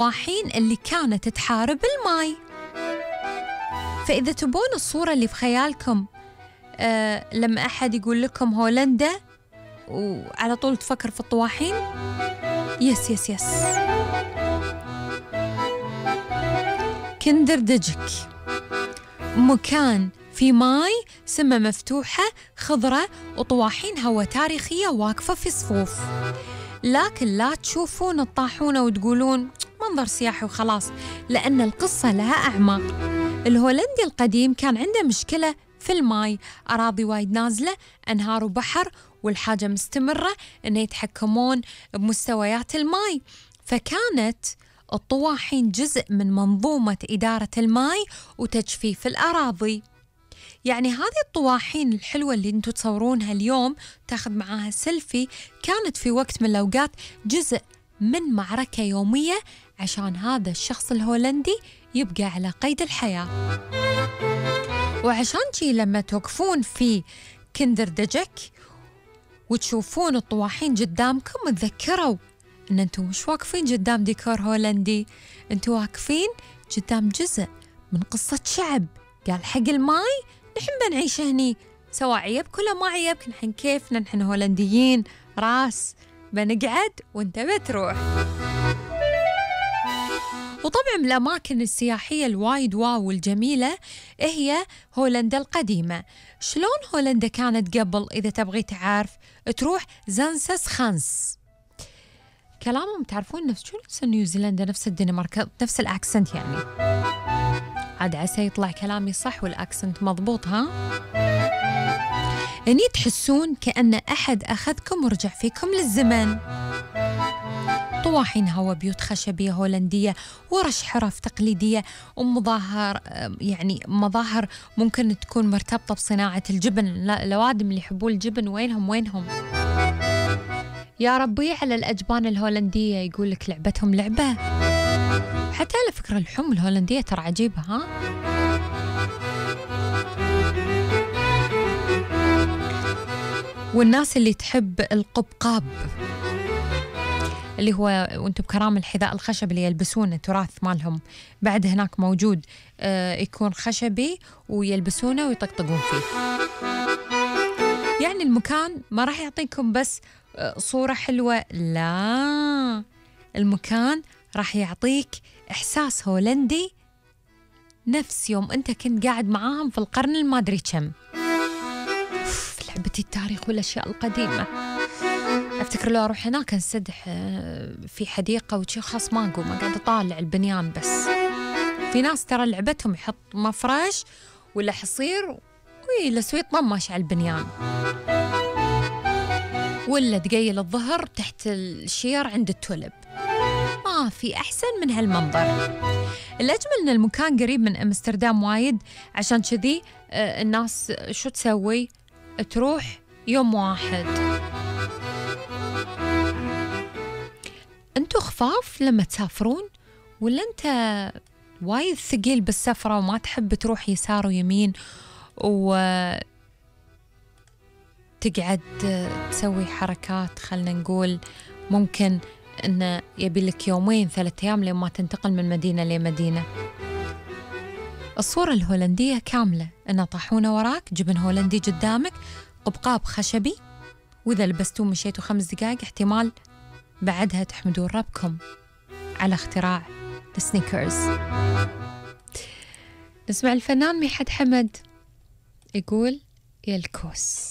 الطواحين اللي كانت تحارب الماي. فإذا تبون الصورة اللي في خيالكم لما أحد يقول لكم هولندا وعلى طول تفكر في الطواحين، يس يس يس، كندردجك، مكان في ماي، سمة مفتوحة، خضرة، وطواحين هوا تاريخية واقفة في صفوف. لكن لا تشوفون الطاحونة وتقولون منظر سياحي وخلاص، لأن القصة لها أعماق. الهولندي القديم كان عنده مشكلة في الماي، أراضي وايد نازلة، أنهار وبحر، والحاجة مستمرة أن يتحكمون بمستويات الماي. فكانت الطواحين جزء من منظومة إدارة الماي وتجفيف الأراضي. يعني هذه الطواحين الحلوة اللي انتوا تصورونها اليوم تاخذ معاها سيلفي، كانت في وقت من الأوقات جزء من معركة يومية عشان هذا الشخص الهولندي يبقى على قيد الحياة. وعشان شي لما توقفون في كندردجك وتشوفون الطواحين قدامكم، تذكروا ان انتوا مش واقفين قدام ديكور هولندي، انتوا واقفين قدام جزء من قصة شعب قال حق الماي نحن بنعيش هني، سواء عيبك ولا ما عيبك، نحن كيفنا، نحن هولنديين راس، بنقعد وانت بتروح. وطبعا من الأماكن السياحية الوايد واو والجميلة هي هولندا القديمة. شلون هولندا كانت قبل؟ إذا تبغي تعرف تروح زانسس خانس. كلامهم تعرفون نفس نيوزيلندا، نفس الدنمارك، نفس الأكسنت يعني. عاد عسى يطلع كلامي صح والأكسنت مضبوط ها؟ يعني تحسون كأن أحد أخذكم ورجع فيكم للزمن. طواحين هوا، بيوت خشبية هولندية، ورش حرف تقليدية، ومظاهر يعني مظاهر ممكن تكون مرتبطة بصناعة الجبن. الأوادم اللي يحبون الجبن وينهم؟ يا ربي على الأجبان الهولندية، يقول لك لعبتهم لعبة. حتى على فكرة اللحوم الهولندية ترى عجيبة ها؟ والناس اللي تحب القبقاب اللي هو وانتم بكرام الحذاء الخشب اللي يلبسونه، تراث مالهم بعد هناك موجود، يكون خشبي ويلبسونه ويطقطقون فيه. يعني المكان ما راح يعطيكم بس صورة حلوة، لا، المكان راح يعطيك إحساس هولندي نفس يوم أنت كنت قاعد معاهم في القرن المادري كم. لعبتي التاريخ والأشياء القديمة. أفتكر لو أروح هناك أنسدح في حديقة وشي، خاص ما أقوم، قاعد أطالع البنيان بس. في ناس ترى لعبتهم يحط مفرش ولا حصير ويلسوا يطمش على البنيان، ولا تقيل الظهر تحت الشير عند التولب. ما في أحسن من هالمنظر. الأجمل أن المكان قريب من أمستردام وايد، عشان كذي الناس شو تسوي؟ تروح يوم واحد. أنتوا خفاف لما تسافرون، ولا أنت وايد ثقيل بالسفرة وما تحب تروح يسار ويمين وتقعد تسوي حركات؟ خلنا نقول ممكن إنه يبي لك 2-3 أيام لما تنتقل من مدينة لمدينة. الصورة الهولندية كاملة، إنه طاحونة وراك، جبن هولندي قدامك، قبقاب خشبي، وإذا لبستوه مشيتوا 5 دقائق احتمال بعدها تحمدون ربكم على اختراع السنيكرز. نسمع الفنان ميحد حمد يقول يا الكوس.